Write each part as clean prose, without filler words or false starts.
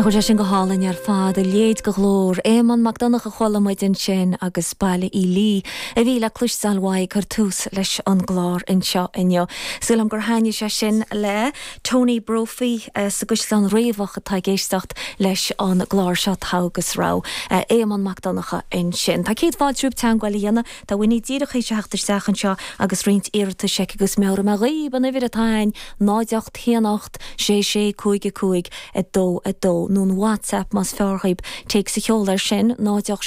Nach bhfuil sé sin go hálainn ar fad, a leithéid de ghlór. Éamonn Mac Donncha a chuala muid ansin agus Baile Uí Lí a bhí le cloisteáil uaidh ag cur tús leis an gclár anseo inniu. Súil agam gur thaitnigh sé sin le Tony Brophy sa gCaisleán Riabhach atá ag éisteacht leis an gclár seo Togha agus Rogha. Éamonn Mac Donncha ansin. Tá céad fáilte romhaibh teagmháil a dhéanamh. Tá Winnie díreach théis a theacht isteach anseo agus roinnt iarratais aici agus meabhróidh mé dhaoib an uimhir atá a'ainn, 0 8 1 8 6 6 5 5 2 2, nó an WhatsApp más fearr dhaoib, téacs a sheoladh air sin, 0 8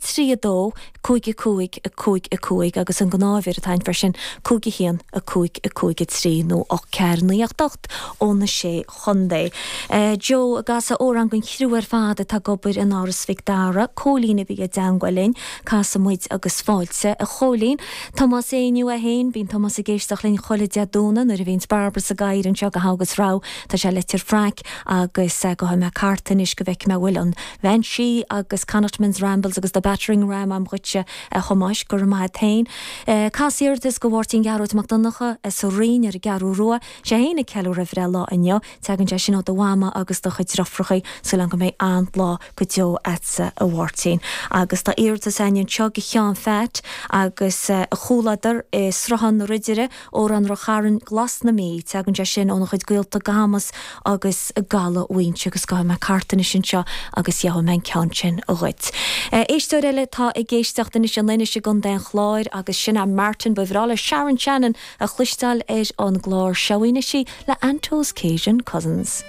7 0 3 2 5 5 5 5 agus an gnáth-uimhir atá a'ainn freisin, 5 1 5 5 3 nó 8 4 9 8 8 ó na Sé Chontae. Joe ag casadh amhrán don chriú ar fad atá ag obair in Áras Mhic Dara, Cóilín a bhí i dteangmháil linn. Casfaidh muid agus fáilte, a Chóilín. Tomás Éinniú é féin, bíonn Tomás ag éisteacht linn chuile Dé Domhnaigh nuair a bhíonns Barbara sa gcathaoir anseo do Thogha agus Rogha. Tá sé leitir Fraic agus gabhfaidh mé cárta anois go bhfeicfidh mé an bhfuil an Bhean Sí agus Connachtman's Rambles agus The Battering Ram a'm dhuitse a Thomáis, go raibh maith a't féin. Cas iarratas go Mháirtín Ghearóid Mac Donncha sa Rinn ar an gCeathrú Rua. Sé fhéin ag ceiliúradh a bhreithlá inniu. Tagann sé sin ó do mhama agus do chuid driofrachaí. Súil agam go mbeidh an-lá go deo a'dsa a Mháirtín. Agus tá iarratas a'ainn anseo go Sheán Pheait agus a chomhluadar i Sruthán na Ridire, Amhrán Ráth Chairn, Glas na Mí. Tagann sé sin óna chuid gaolta i gCamus agus i gCaladh Mhaínse agus gabhfaidh mé cárta anois anseo agus gheobhaidh mé an ceann sin dhuit. Éisteoir eile atá ag éisteacht anois in Inis i gContae an Chláir agus sin é Martin. Ba bhreá le Sharon Shannon a chloisteáil ar an gclár seo anois í le Anto's Cajun Cousins.